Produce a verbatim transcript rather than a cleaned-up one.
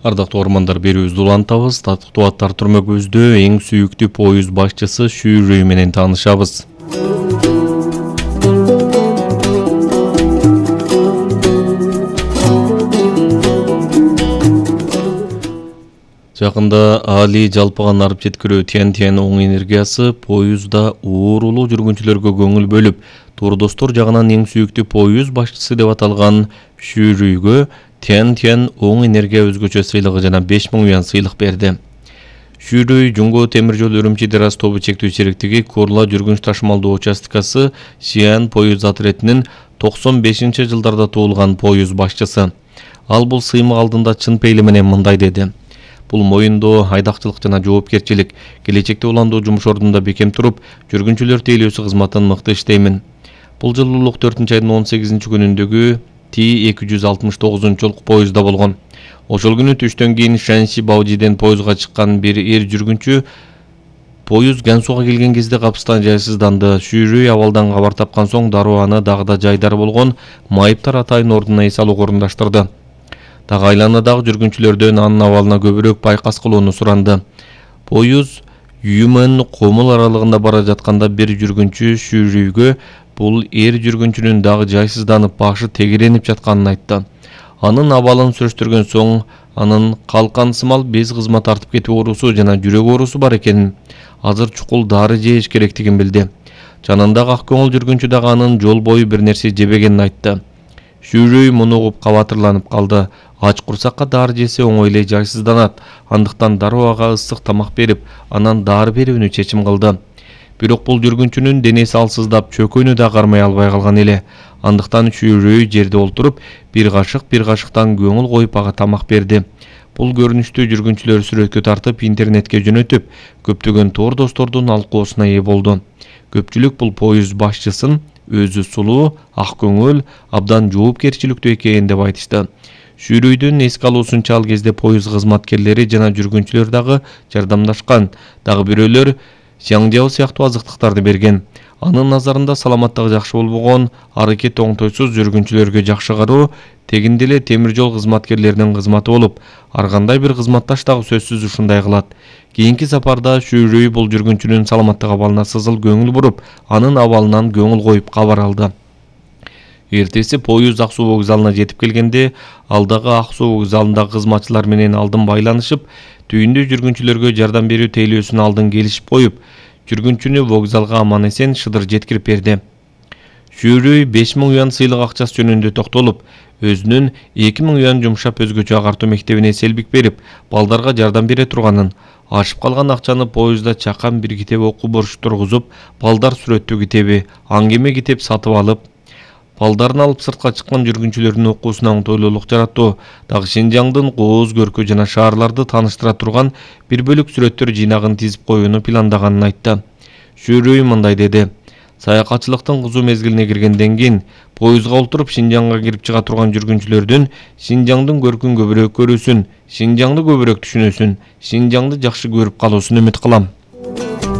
Ардактуу ормандар, берүүбүздү улантабыз. Татыктуу аттар түрмөгүбүздө эң сүйүктүү поюз башчысы Шүүрүй менен таанышабыз. Жакында Али жалпыган арып жеткирүү Тянь-Тянь оң энергиясы поюзда уурулуу жүргүнчүлөргө көңүл бөлүп, туурдостор жагынан эң сүйүктүү поюз башчысы деп аталган Шүүрүйгө Тянь-Тянь оң энергия өзгөчө сыйлыгы жана беш миң юан сыйлык берди. Шүүрүй Жумго темир жол Үрүмчи Дераз тобу чектүү сериктиги Курла жүргүнч ташымалдуу участкасы Сиан поюз отретинин токсон бешинчи жылдарда туулган поюз башчысы. Ал бул сыймык алдында чын пейили менен мындай деди: Бул моюндоо, айдакчылык жана жоопкерчилик. Келечекте уландуу жумуш ордунда бекем туруп, жүргүнчүлөр тейлөөсү кызматын мыкты иштеймин. Бул жылы улук төртүнчү айдын он сегизинчи күнүндөгү Ти эки жүз алтымыш тогузунчу поюзда болгон. Ошол күнү түштөн кийин Шанси Баудиден поюзга чыккан бир эр жүргүнчү поюз Гансуга келген кезде капыстан жайсызданды. Шүүрүй абалдан кабар тапкан соң дароо аны дагы да жайдары болгон майыптар атайын ордуна эс алууга орундаштырды. Дагы айланадагы жүргүнчүлөрдөн анын абалына көбүрөөк байкас кылууну суранды. Поюз Юмэн Комул аралыгында бара жатканда бир жүргүнчү Шүүрүйгө бул эр жүргүнчүнүн дагы жайсызданып, башы тегеренип жатканын айтты. Анын абалын сүрөштүргөн соң анын калкансымал без кызмат тартып кетүү оорусу жана жүрөк оорусу бар экенин, азыр чукул дары жеш керектигин билди. Жанындагы ак көңүл жүргүнчү дагы анын жол бою бир нерсе жебегенин айтты. Шүүрүй муну угуп кабатырланып калды. Ач курсакка дары жесе оңой эле жайсызданат. Андыктан дароо ага ысык тамак берип, анан дары берүүнү чечим кылды. Бирок бул жүргүнчүнүн денеси алсыздап, чөкөнү да кармай албай калган эле. Андыктан Шүүрүй жерде олтуруп, бир кашык бир кашыктан көңүл коюп ага тамак берди. Бул көрүнүштү жүргүнчүлөр сүрөткө тартып, интернетке жөнөтүп, көптөгөн тоор достордун алкоосуна ээ болду. Көпчүлүк бул поюз башчысын өзү сулуу, ак көңүл, абдан жоопкерчиликтүү экен деп айтышты. Шүүрүйдүн эске алуусунча ал кезде поюз кызматкерлери жана жүргүнчүлөр дагы жардамдашкан. Дагы бирөөлөр Сяңжао сыяктуу азыктыктарды берген. Анын назарында саламаттыгы жакшы болбогон, аракет оңтойсуз жүргүнчүлөргө жакшы кароо тегинде эле темир жол кызматкерлеринин кызматы болуп, ар кандай бир кызматташ дагы сөзсүз ушундай кылат. Кийинки сапарда Шүүрүй бул жүргүнчүнүн саламаттык абалына сызыл көңүл буруп, анын абалынан көңүл коюп кабар алды. Эртеси поюз Ак суу вокзалына жетип келгенде, ал дагы Ак суу вокзалындагы кызматчылар менен алдын байланышып, түйүндө жүргүнчүлөргө жардам берүү тейлөөсүн алдын келишип коюп, жүргүнчүнү вокзалга аман эсен шыдыр жеткирип берди. Шүүрүй беш миң юан сыйлык акчасы жөнүндө токтолуп, өзүнүн эки миң юан жумшап өзгөчө агартуу мектебине селбик берип, балдарга жардам бере турганын, ашып калган акчаны поюзда чакан бир китеп окуу борчу тургузуп, балдар сүрөттүү китеби, аңгеме китеп сатып алып, балдарын алып сыртка чыккан жүргүнчүлөрдүн окуусуна оңтойлуулук жараттуу, дагы Шинжаңдын кооз көркү жана шаарларды тааныштыра турган бир бөлүк сүрөттөр жыйнагын тизип коюуну пландаганын айтты. Шүүрүй мындай деди: Саякатчылыктын кызуу мезгилине киргенден кийин поюзга олтуруп Шинжаңга кирип чыга турган жүргүнчүлөрдүн Шинжаңдын көркүн көбүрөөк көрүүсүн, Шинжаңды көбүрөөк түшүнүүсүн, Шинжаңды жакшы көрүп калуусун үмүт кылам.